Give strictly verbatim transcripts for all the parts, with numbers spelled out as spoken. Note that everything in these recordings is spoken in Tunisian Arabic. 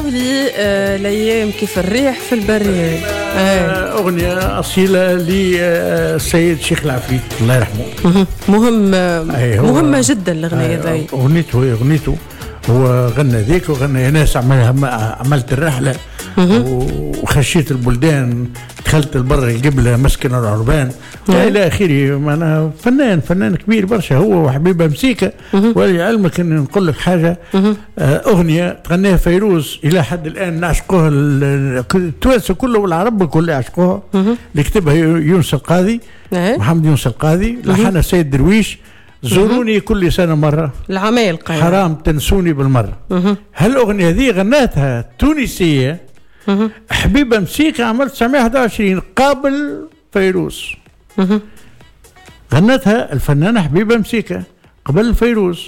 لي آه، الايام كيف الريح في البرية. آه، اغنية اصيلة للسيد شيخ العفريت الله يرحمه. مهم، مهمة جدا الاغنية ذي. اغنيته اغنيته هو غنى ذيك وغنى يا ناس عملت الرحلة وخشيت البلدان، دخلت البر القبلة مسكن العربان والى اخره. معناها فنان فنان كبير برشا هو وحبيبه مسيكه. ولعلمك ان نقول لك حاجة، اغنية تغنيها فيروز الى حد الان نعشقوها التوانسة كله والعرب الكل يعشقوها، اللي كتبها يونس القاضي، محمد يونس القاضي، لحنها سيد درويش، زوروني كل سنة مرة العمالقة حرام تنسوني بالمرة. هالأغنية هذه غناتها تونسية حبيبة مسيكة عام ألف وتسعمية وواحد وعشرين قبل فيروز. غنتها الفنانة حبيبة مسيكة قبل فيروز،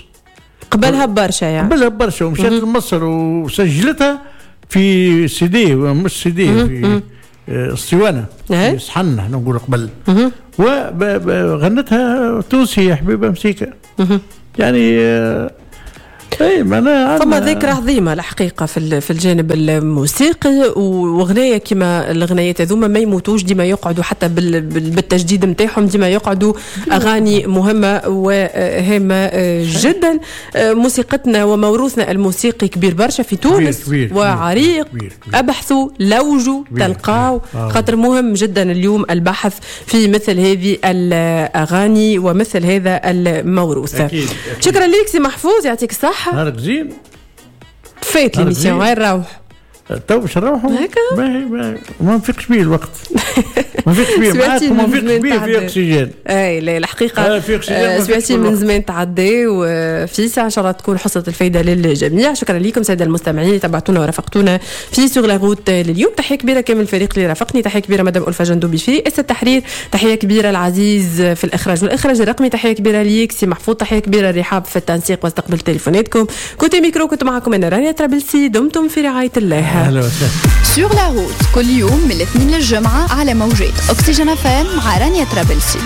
قبلها برشا يعني، قبلها برشا، ومشات لمصر وسجلتها في سي دي، مش سي دي، في اسطوانة في صحن احنا نقول قبل، وغنتها تونسية حبيبة مسيكة. يعني اي معناها فما ذكرى عظيمة الحقيقة في في الجانب الموسيقي، وغنايه كما الغنايات هذوما ما يموتوش، ديما يقعدوا حتى بالتجديد نتاعهم، ديما يقعدوا اغاني مهمة وهامه جدا. موسيقتنا وموروثنا الموسيقي كبير برشا في تونس، كبير كبير وعريق، كبير كبير. ابحثوا، لوجوا، تلقاو، خاطر مهم جدا اليوم البحث في مثل هذه الاغاني ومثل هذا الموروث. أكيد أكيد. شكرا لك سي محفوظ، يعطيك الصحة. نهارك زين. فات l'émission، غير روح تو باش نروحوا هكا، ما ما نفيقش بيه الوقت، ما نفيقش بيه معاك وما نفيقش بيه في اكسجين. اي لا الحقيقة سمعتي من زمان تعدي وفي ساعة، ان شاء الله تكون حصة الفايدة للجميع. شكرا لكم ساده المستمعين اللي تبعتونا ورافقتونا في sur la route لليوم. تحية كبيرة كامل الفريق اللي رافقني، تحية كبيرة مدام ألفة جندوبي في رئاسة التحرير، تحية كبيرة العزيز في الاخراج والاخراج الرقمي، تحية كبيرة ليك سي محفوظ، تحية كبيرة رحاب في التنسيق واستقبل تليفوناتكم. côté micro كنت معكم انا رانيا ترابلسي، دمتم في رعاية الله. Sur la route كل يوم من الاثنين للجمعة على موجات أكسجين أف أم مع رانيا ترابلسي.